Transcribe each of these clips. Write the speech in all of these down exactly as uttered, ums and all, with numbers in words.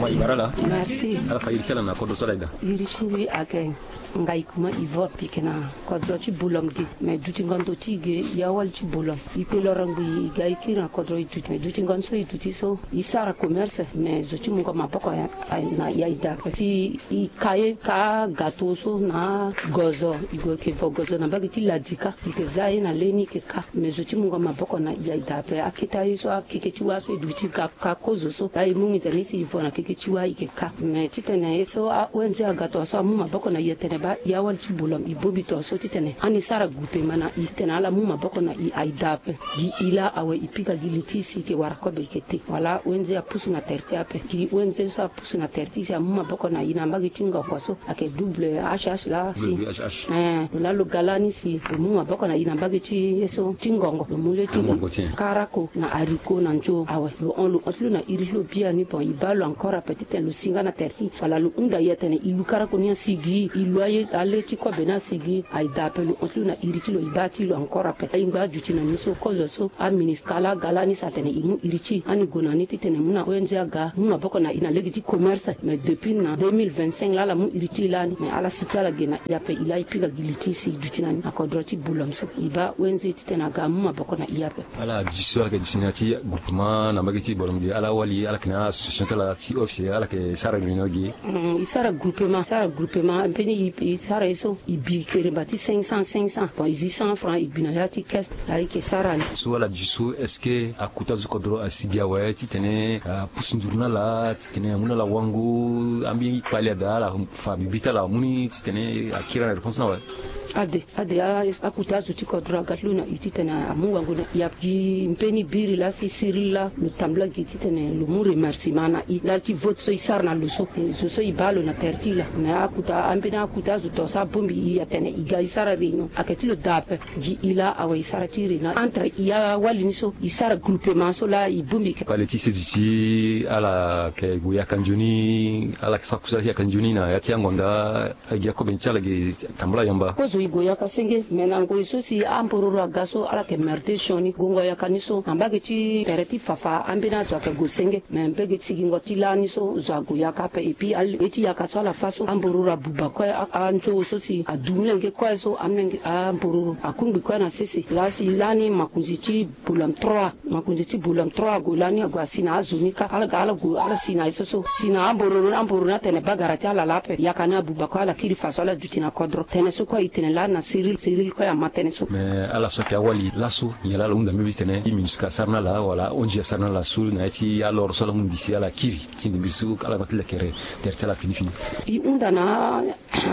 Wa i bara ala. Merci. Ala fa iri ti ala na kodro so ala ida. Iri ti mbi ayeke Ngaï Kuma Ivor, mbi yeke na kodro ti Bolom ge. Me dutingo ndo ti e ge, ya wali ti Bolom. E kpe loro ngbii, e ga e kiri na kodro e duti. Me dutingo so e duti so, e sara commerce. Me zo ti mungo maboko na ya e da ape si e ka ye ka gato so na gozo. E gue e yeke vo gozo na mbage ti Ladika. E yeke za ye na leni e yeke ka. Me zo ti mungo maboko na ya e da ape. Aketa ye so akeke ti wâ so e duti ka, ka kozo so. Laa e mu nginza ni si e vo na keke ti wâ e yeke ka. Me titene ye so a-O N G aga tongaso amu maboko na e atene baa ya wali ti Bolom e bongbi tongaso titene ani sara groupement na e titene ala mu maboko na e aye da ape. Gi e laa awe e pika gi li ti e si e yeke wara kobe e yeke te. Wala O N G apusu na tere ti e ape. Gi O N G so apusu na tere ti e si amu maboko na e na mbage ti ngongo so ayeke W H H laa si. W H H. Eh, lo laa lo ga lani si lo mu maboko na e na mbage ti ye so ti ngongo. Lo mu le ti ngongo ti e. Karako na haricot na nzo awe. Lo hon, lo hon ti lo na iri ti lo biani, bon, e baa lo encore ape titene lo si nga na tere ti e. Wala lo hunda e atene e lu karako ni asi gi, e lu aye, ale ti kobe ni asi gi. Aye da ape, lo hon ti lo na iri ti lo, e baa ti lo encore ape. Aye ngba aduti na ni so, kozo so, aMINUSCA laa aga lani si atene e mu iri ti e. Ani gue na ni titene mu na O N G aga mu maboko na e na lege ti commerce. Me depuis na deux mille vingt-cinq laa ala mu iri ti e lani. Me ala si ti ala ge na e ape, e laa e pika gi li ti e si e duti na ni na kodro ti Bolom so. E baa O N G titene aga amu maboko na e ape. Ala duti so ala yeke duti na ya ti groupement na mbage ti Bolom ge, ala wali, ala yeke na association ti ala ti office, ala yeke sara réunion ge. Mm, e sara groupement, sara groupement, mbeni e, e sara ye so, e bi keremba ti cinq cents, cinq cents. Bon, e zi cent francs, e bi na ya ti caisse, laa e yeke sara ni. So ala duti so, est-ce que akota zo ti kodro asi gi awe titene apusu nduru na ala, titene amu na ala wango, ambeni kpale ada ala fa bibi ti ala amu ni titene akiri na réponse ni awe? Ade, ade, a, akota azo ti kodro aga ti lo na e titene amu wango na e ape. Gi mbeni biri laa si Cyril laa lo tambula gi titene lo mu remerciement na e ndali ti vote so e sara na lo so. Zo so e baa lo na tere ti e laa. Me akota, ambeni akota azo tongaso abongbi e atene e ga e sara réunion. Ayeke ti lo daa ape. Gi e laa awe e sara ti réunion entre e awali ni so, e sara groupement so laa e bongbi. Kpale ti seduti ala yeke gue yaka nzoni, ala yeke sara kusala ti yaka nzoni na ya ti angonda. Agi akobe ni ti ala ge tambula yamba. Kozo e gue yaka senge, me na ngoi so si ambororo aga so ala yeke merde sioni. Gongo yaka ni so na mbage ti tere ti Fafa, ambeni azo ayeke gue senge. Me mbage ti sigingo ti lani so zo ague yaka ape. Et puis ale ye ti yaka so ala fâ so, ambororo abuba kue, a, anzo so si adu mlenge kue so, amlenge, ambororo akungbi kue na sese. Laa si lani makonzi ti Bolom trois. Makonzi ti Bolom trois ague lani, ague asi na azo ni kâ. Ala ga ala gue ala si na ye so so. Si na ambororo, ambororo ni atene bagara ti ala laa ape. Yaka ni abuba kue, ala kiri faso ala duti na kodro. Tënë so kue e tene lani na Cyril, Cyril kue ama tënë so. Me ala so ayeke awali laso, nyen laa ala hunda mbeni titene e MINUSCA asara na ala wala O N G asara na ala so na ya ti aloro so ala mu mbi si ala kiri ti mbi so ala ma ti lekere tere ti ala fini fini? E hunda na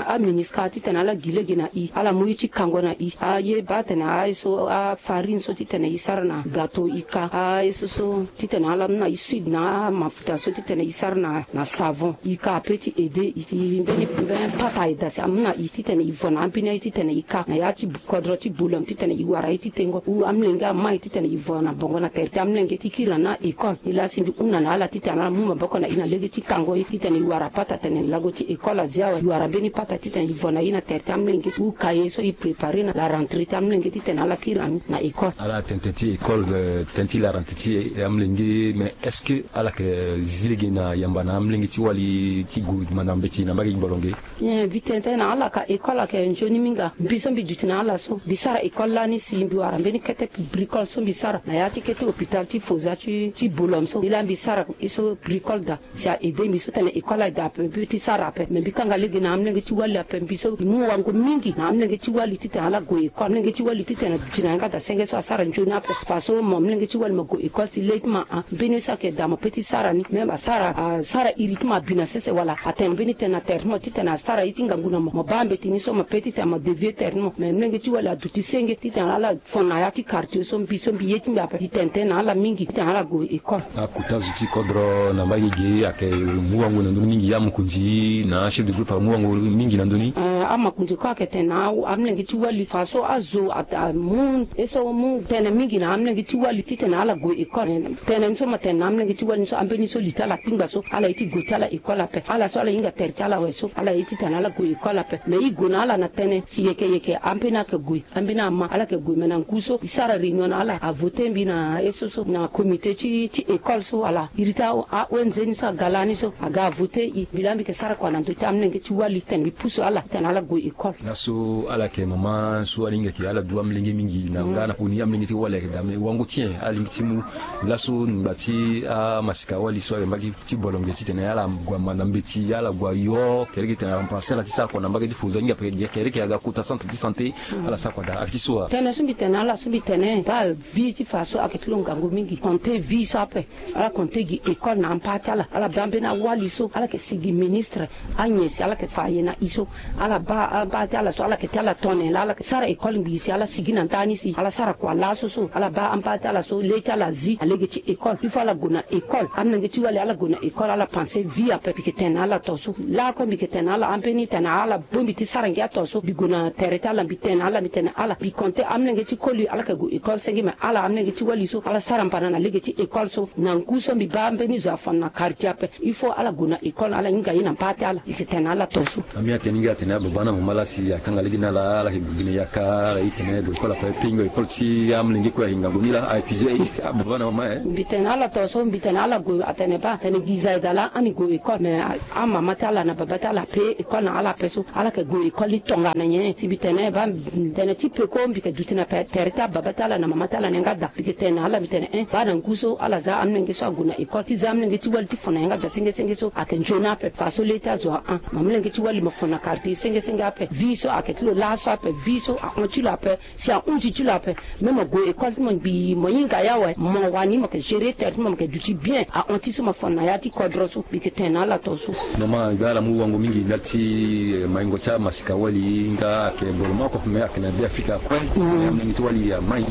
aMINUSCA titene ala gi lege na e, ala mu ye ti kango na e. Aye baa atene aye so, afarine so titene e sara na gâteau e ka. Aye so so titene ala mu na e sude na amafuta so titene e sara na, na savon e ka, apeut ti aider e ti mbeni, mbeni pata aye daa si amu na e titene e vo na ambeni aye titene e ka na ya ti kodro ti Bolom titene e wara ye ti tengo. Ou amlenge ama e titene e vo na bongo na tere ti amlenge ti kiri na ni na école. E laa si mbi hunda na ala titene ala mu maboko na e na lege ti kango ye titene e wara pata tene lago ti école azia awe. E wara mbeni pata titene e vo na e na tere ti amlenge ou cahier so e préparer na la rentrée ti amlenge titene ala kiri na ni na école. Ala tene tënë ti école, eh, tënë ti la rentrée ti amlenge, mais est-ce que ala yeke zi lege na yamba na amlenge ti wali ti gue manda mbeti na mbage ti Bolom ge? Bien, mbi tene tënë na ala ka école ayeke nzoni mingi. Mbi so mbi duti na ala so, mbi sara école lani si mbi wara mbeni kete bricole so mbi sara na ya ti kete hôpital ti Foza ti, ti Bolom so. E laa mbi sara ye so bricole daa. Si a aider mbi so tene école aye daa ape, mbi ti sara ape. Me mbi kanga lege na amlenge ti wali ape, mbi so mbi mu wango mingi na amlenge ti wali titene ala gue école. Amlenge ti wali titene aduti na yanga daa senge so asara nzoni ape. Faso mo amlenge ti wali mo gue école si le ti mo a, mbeni ye so ayeke daa mo peut ti sara ni. Même asara, asara iri ti mo abi na sese wala atene mbeni tënë na tere ti mo titene asara ye ti ngangu na mo. Mo baa mbeti ni so mo peut titene mo dévier tere ti mo. Me amlenge ti wali aduti senge titene ala fon na ya ti quartier so mbi so mbi ye ti mbi ape. Mbi tene tënë na ala mingi titene ala gue école. Akota zo ti kodro na mbage ge ayeke mu wango na ndoni mingi, amokonzi na chef de groupe amu wango mingi na ndoni. Eh, amokonzi kue ayeke tene na amlenge ti wali faso azo a, amu ye so mu tënë mingi na amlenge ti wali titene ala gue école. Tënë ni so mo tene na amlenge ti wali ni so ambeni so li ti ala kpingba so ala ye ti gue ti ala école ape. Ala so ala hinga tere ti ala awe so ala ye titene ala gue école ape. Me e gue na ala na tënë si yeke yeke ambeni ayeke gue. Ambeni ama ala yeke gue me na ngu so e sara réunion na ala, avoter mbi na ye so so na comité ti, ti école so wala iri ti a-O N G ni. So aga lani so aga avote i mbi laa mbi yeke sara kua na ndö ti amolenge ti wali titene mbi pusu ala titene ala gue école. Laso ala yeke mama so alinga yeke ala du amolenge mingi na nga na poni amolenge ti wali ayeke dame wango ti nyen alingbi ti mu. Laso ngba ti amasika wali so ayeke mbage ti bolonge titene ala gue manda mbeti ala gue ayo kereke titene aremplace ala ti sara kua na mbage ti faux aninga peke kereke aga kota centre ti santé. Ala sara kua daa ayeke ti so wa. Tene so mbi tene na ala so mbi tene baa vie ti fa so ayeke ti lo ngangu mingi konte vie so ape. Ala konte gi école na ampa ti ala ala baa mbeni awali so ala yeke sigi ministre. Anyen si ala yeke fa aye na i so ala baa ampa ti ala so ala yeke ti ala tone laa ala yeke sara école ngbii si ala sigi na ndani si ala sara kua laso so ala baa ampa ti ala so le ti ala zi alege ti école il faut ala gue na école amolenge ti wali ala gue na école ala panse vie ape mbi yeke tene na ala to so. Lakue mbi yeke tene na ala ambeni tene na ala bongbi ti sara ngia to so mbi gue na tere ti ala mbi tene na ala mbi tene na ala mbi konte amolenge ti koli ala yeke gue école senge me ala amolenge ti wali so ala sara mbana na lege ti école so na ngu so mbi baa mbeni zo afon na quartier ape. Il faut ala gue na école ala hinga ye na mpa ti ala mbi yeke tene na ala to so. Ami atene nga atene ababa na mama laa si akanga lege na ala ala yeke gue gi na yaka ala ye tene gue école ape pingo école ti amolenge kue ayeke ngangu ni laa a épuise ababa na mama e. Mbi tene na ala to so mbi tene na ala gue atene baa tene gi zaida laa ani gue école mais amama ti ala na baba ti ala ape école na ala ape so ala yeke gue école ni tongana nyen si mbi tene baa tene ti peko mbi yeke duti na tere ti ababa ti ala na mama ti ala na yanga daa mbi yeke tene na ala mbi tene en baa na ngu so ala za amolenge so ague na école ti za amolenge ti wali ti fon na yanga daa senge senge so ayeke nzoni ape fa so le ti azo ahon ma molenge ti wali mo fon na quartier senge senge ape vie so ayeke ti lo laso ape vie so ahon ti lo ape si ahunzi ti lo ape. Même mo gue école ti mo ngbii mo hinga ye awe mo wani mo yeke gérer tere ti mo mo yeke duti bien ahon ti so mo fon na ya ti kodro so mbi yeke tene na ala to so. Mama nga ala mu wango mingi ndali ti maingo ti amasika wali nga ayeke boro moko me ayeke na be afrika kue titene amolenge ti wali amai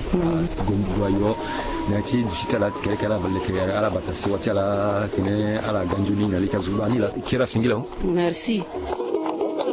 ago ayo na ya ti duti ti ala kereke ala leke ala bata sewa ti ala titene ala ga nzoni na le ti azo baa ni laa kiri asengila. Merci.